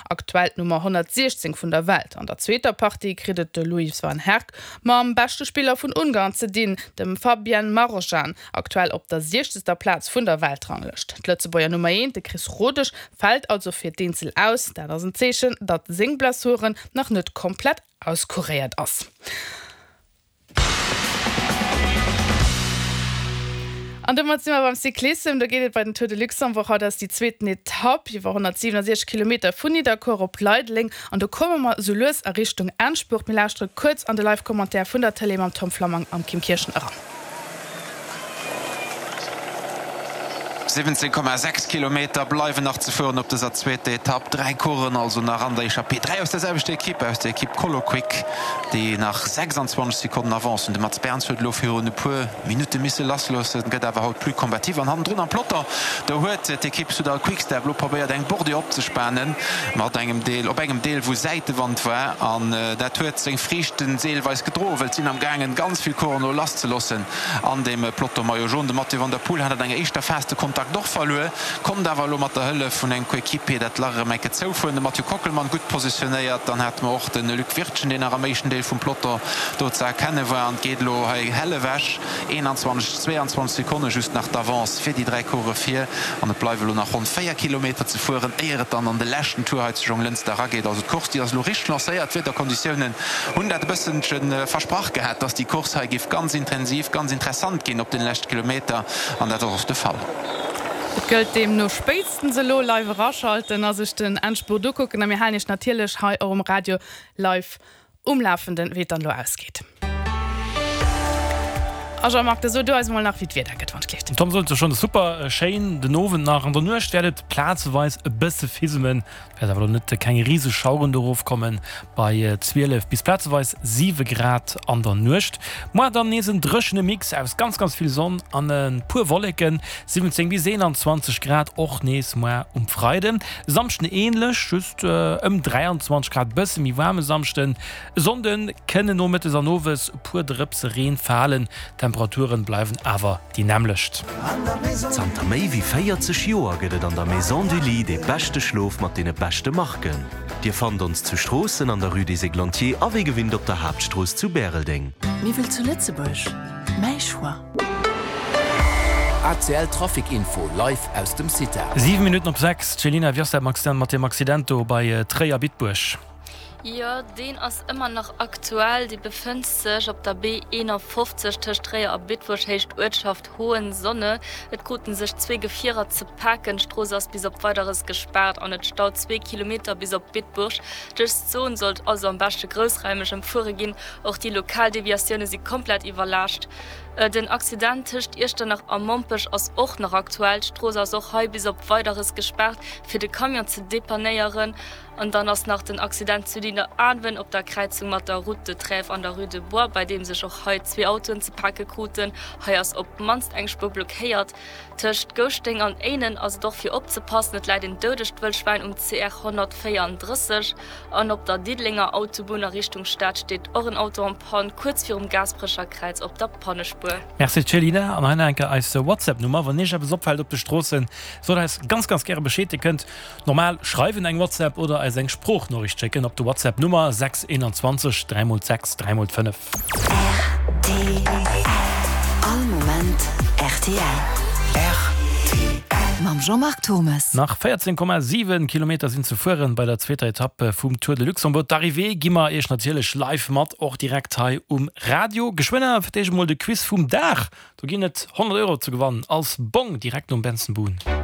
Aktuell d'Nummer 116 vun der Welt. An der zweeter Partie kritt et de Louis van Herck mam beschte Spiller vun Ungarn ze dinn, dem Fabian Marozsan, aktuell op der siechzegster Plaz vun der Weltranglëscht. D'Lëtzebuerger Nummer eent, de Chris Rodesch, fält also fir d'Eenzel aus. Dat ass en Zeechen, datt seng Blessuren nach net komplett auskuréiert ass. An domat si mer beim Cyclissem. Do geet et bei den Tour de Luxembourg. Haut ass déi zweeten Etapp iwwer 167 Kilometer vun Nidderkuer op Leideleng. An do komme mer sou lues a Richtung Endspurt. Mir lauschtere kuerz an de Live-Commentaire vun der Tëlee mam Tom Flammang am Kim Kirchen eran. 17,6 Kilometer bleiwen nach ze fueren op dëser zweeter Etapp. Dräi Coureuren also nach an der Echappée. Dräi aus der selwechter Ekipp, aus der Ekipp ColoQuick, déi nach 26 Sekonnen Avance hunn. De Mats Berns huet elo virun e puer Minutte misse lassloossen, gëtt awer haut plus combatif. An hannendrun am Peloton, do huet d'Ekipp Soudal Quick-Step elo probéiert eng Bordure opzespanen, mat engem Deel, op engem Deel wou Säitewand war. An dat huet seng Friichten deelweis gedroen, well et sinn am gaangen ganz vill Coureuren elo lasszeloossen. An dem Peloton Maillot Jaune, de Mathieu van der Poel hat an enger éischter Phas de Kontakt och verluer, konnt awer elo mat der Hëllef vun engem Coéquipier dat Lach erëm eng Kéier zoufueren. De Mathieu Kockelmann gutt positionéiert. Dann hate mer och de Luc Wirtgen, deen nach am éischten Deel vum Peloton do ze erkenne war. An et geet elo hei hell ewech, 21, 22 Sekonne just nach d'Avance fir déi 3 Coureuren vir. An et bleiwe elo nach ronn 4 Kilometer ze fueren, éier et dann an de leschten Tour hei zu Jonglënster erageet. Also d'Course, déi ass elo richteg lancéiert. D'Wiederkonditiounen Hunn dat e bësselche versprach gehat, dass déi Course hei géif ganz intensiv, ganz interessant ginn op den leschte Kilometer, an dat ass och de Fall. Et gëllt deemno spéitstens elo live eraschalten a sech den Endspurt ukucken a mir halen iech natierlech hei och um Radio live um Lafenden, wéi et dann elo ausgeet. A Jean-Marc, da so du eis emol nach wéi d'Wieder gëtt, wann et gleeft. Tom sot et schonn, super schéin den Owend nach. An der Nuecht wäert et plazeweis e bësse fismen, Wäert awer elo net keng riseg Schaueren do erofkommen, bei 12 bis plazeweis 7 Grad an der Nuecht. Moar dann nees en dréchene Mix aus ganz ganz vill Sonn an e puer Wolleken, 17 bis 21 Grad och nees moar um Freiden. E Samschden änlech, just ëm 23 Grad, bësse méi waarm e Samschden. E Sonnde kënnen nomëttes an owes e puer Drëpse Reen falen, d'Temperaturen bleiwen awer déi nämmlecht. Zanter méi wéi 40 Joer gëtt et an der Maison du Lit dee beschte Schlof mat deene beschte Marken. Dir fannt ons zu Stroossen an der Rue des Églantiers a wéi gewinnt op der Haaptstrooss zu Bäreldeng. Miwwel zu Lëtzebuerg, mäi Choix. ACL Trafic Info live aus dem CITA. 7 Minutten op 6, Céline, wéi ass dat mat deem Accident do bei Tréier-Bitbuerg? Jo, deen ass ëmmer nach aktuell. Dee befënnt sech op der B 51 tëscht Tréier a Bitburg, Héicht Uertschaft Hohensonne. Et kruten sech zwee Gefierer ze paken. D'Strooss ass bis op Weideres gespaart an et staut zwee Kilometer bis op Bitburg. Dës Zon sollt also am beschte groussraimeg ëmfuere ginn. Och déi lokal Deviatioune si komplett iwwerlaascht. Den Accident tëscht Iechternach a Mompech ass och nach aktuell. D'Strooss ass och hei bis op Weideres gespaart, fir de Camion ze depannéieren. An dann ass nach den Accident zu Nidderaanwen op der Kräizung mat der Route de Trèves an der Rue de Bois, bei deem sech och hei zwee Autoen ze pake kruten. Hei ass op d'mannst eng Spuer blockéiert. Tëscht Gouschteng an Éinen ass et och fir opzepassen, et läit een doudegt Wëllschwäin um CR 134. An op der Diddelenger Autobunn a Richtung Stad steet och en Auto en panne, kuerz virum Gaasperecher Kräiz op der Pannespuer. Merci Céline, an hei nach eng Kéier eis WhatsApp Nummer, wann iech eppes opfält op de Stroossen, sot eis ganz ganz gäre Bescheed. Dir kënnt Normal schreiwen, eng WhatsApp oder eis eng Sproochnoriicht schécken op de WhatsApp Nummer 6 21 3 x 6 3 x 5. Rtl All Moment rtl. Rtl. Mam Jean-Marc Thommes. Nach 14,7 Kilometer sinn ze fueren bei der zweeter Etapp vum Tour de Luxembourg. D'Arrivée gi mer iech natierlech live mat, och direkt hei um Radio. Geschwënn awer fir d'éischt emol de Quiz vum Dag. Do ginn et 100 Euro ze gewannen als Bong direkt nom Benson Boone.